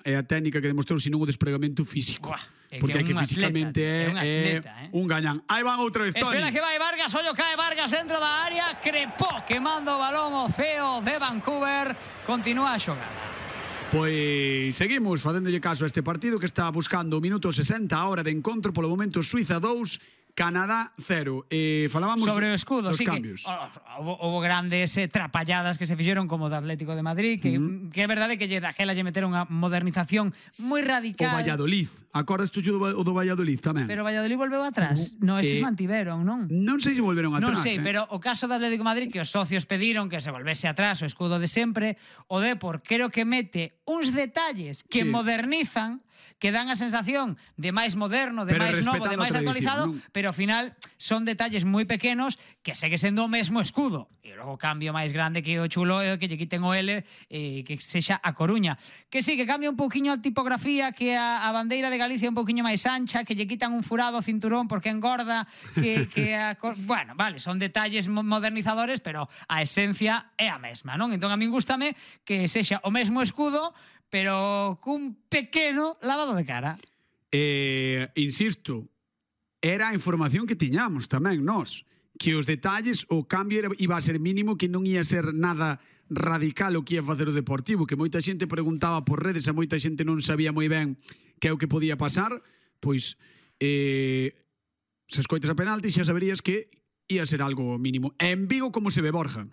é a técnica que demostrou, senón o despregamento físico. Porque é que físicamente é un gañán. Aí van outra vez, Toni. Espera que vai Vargas, ollo cae Vargas dentro da área, crepó quemando o balón o CEO de Vancouver, continúa a xogada. Pois seguimos facéndolle caso a este partido que está buscando o minuto 60 a hora de encontro, polo momento Suiza 2, Canadá 0. Falábamos sobre o escudo, dos sí, cambios. Houve grandes trapalladas que se fixeron como o do Atlético de Madrid, que é verdade que daquela lle meteron unha modernización moi radical. O Valladolid, acordas tú o do Valladolid tamén? Pero o Valladolid volveu atrás. No, eses mantiveron, non? Non sei se volveron atrás. Non sei, pero o caso do Atlético de Madrid, que os socios pediron que se volvese atrás o escudo de sempre, o Depor creo que mete uns detalles que modernizan, que dan a sensación de máis moderno, de máis novo, de máis actualizado, pero ao final son detalles moi pequenos que segue sendo o mesmo escudo. E logo o cambio máis grande que o chulo é que lle quiten o L e que sexa a Coruña. Que sí, que cambia un pouquiño a tipografía, que a bandeira de Galicia é un pouquiño máis ancha, que lle quitan un furado ao cinturón porque engorda, bueno, vale, son detalles modernizadores, pero a esencia é a mesma, non? Entón a min gústame que sexa o mesmo escudo, pero cun pequeno lavado de cara. Insisto, era a información que tiñamos tamén nós, que os detalles, o cambio iba a ser mínimo, que non ia ser nada radical o que ia facer o Deportivo, que moita xente preguntaba por redes, a moita xente non sabía moi ben que é o que podía pasar, pois se escoitas a penalti xa saberías que ia ser algo mínimo. En Vigo, como se ve, Borja?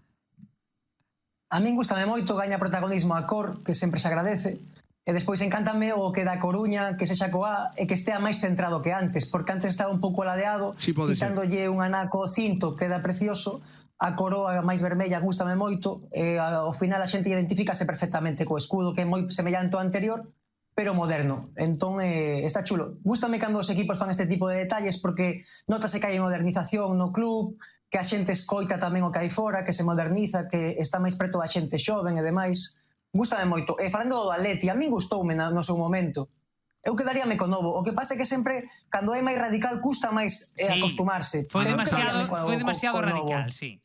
A min gustame moito, gaña protagonismo a cor, que sempre se agradece, e despois encántame o que da Coruña, que sexa coa e que estea máis centrado que antes, porque antes estaba un pouco aladeado, quitándolle un anaco cinto, queda precioso, a coroa máis vermella gustame moito, e ao final a xente identifícase perfectamente co escudo, que é moi semellante ao anterior, pero moderno. Entón, está chulo. Gústame cando os equipos fan este tipo de detalles, porque notase que hai modernización no club, que a xente escoita tamén o que hai fora, que se moderniza, que está máis preto da xente xoven e demais. Gústame moito. E falando do Atleti, a min gustoume no seu momento. Eu quedaríame co novo. O que pasa é que sempre, cando é máis radical, custa máis acostumarse. Foi demasiado radical, sí.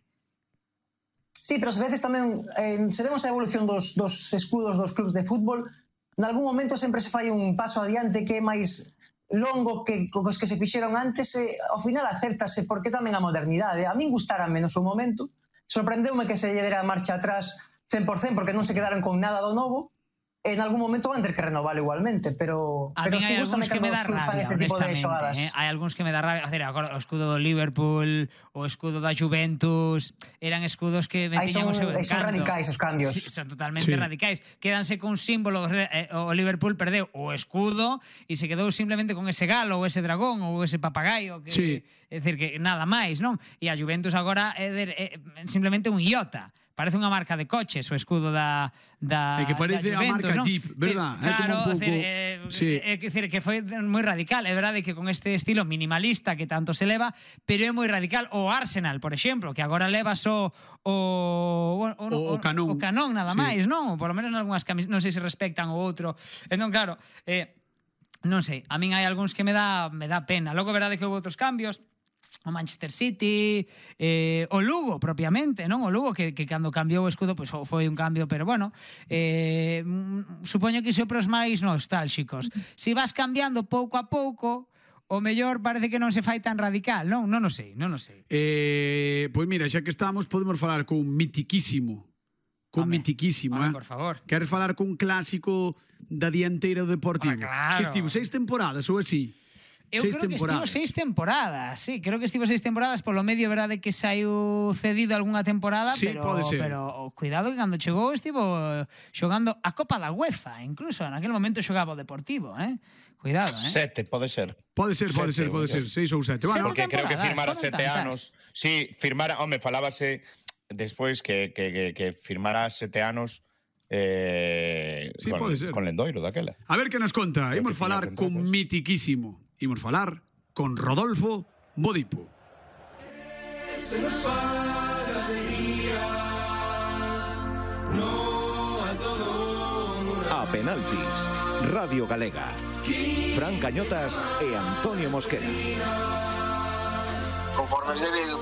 Sí, pero ás veces tamén, se vemos a evolución dos escudos dos clubs de fútbol, en algún momento sempre se fai un paso adiante que é máis longo que os que se fixeron antes, ao final acértase, porque tamén a modernidade. A min gustárame no seu momento, sorprendeume que se lle dera marcha atrás 100%, porque non se quedaron con nada do novo, en algún momento van ter que renovar igualmente, pero sí gustame que os clubs fan ese tipo de xogadas. Hai algúns que me dá rabia, o escudo do Liverpool, o escudo da Juventus, eran escudos que tiñan o seu encanto. Son radicais os cambios. Sí, son totalmente radicais. Quédanse con símbolo, o Liverpool perdeu o escudo e se quedou simplemente con ese galo ou ese dragón ou ese papagaio, que é dicir que nada máis, non? E a Juventus agora é simplemente un iota. Parece unha marca de coches o escudo da é que parece a marca ¿no? Jeep, verdad? Claro, é que foi moi radical. É verdade que con este estilo minimalista que tanto se leva, pero é moi radical. O Arsenal, por exemplo, que agora leva só o Canón nada máis, non? Por lo menos en algunhas camisas, non sei se respectan o outro. Entón, claro, non sei, a min hai algúns que me dá pena. Logo, verdade que houve outros cambios, o Manchester City, o Lugo propiamente, non? O Lugo que cando cambiou o escudo pois foi un cambio, pero bueno, supoño que iso para os máis nostálxicos. Se vas cambiando pouco a pouco, o mellor parece que non se fai tan radical, non? Non o sei. Pois mira, xa que estamos, podemos falar con mitiquísimo. Por favor. Queres falar con clásico da dianteira do Deportivo? Claro. Que estivo 6 temporadas ou así? Eu creo que estivo 6 temporadas. Sí, creo que estivo 6 temporadas. Polo medio, verdade que saiu cedido algunha temporada, sí, pero cuidado que cando chegou estivo xogando a Copa da UEFA, incluso en aquel momento xogaba o Deportivo, Cuidado, 7, pode ser. Pode ser, 6 ou 7. Porque creo que firmara 7 anos. Sí, firmara, falábase despois que firmara 7 anos con Lendoiro daquela. A ver que nos conta. Imos falar con mitiquísimo. Imos falar con Rodolfo Bodipo. A penaltis, Radio Galega. Fran Cañotas e Antonio Mosquera. Conforme es debido.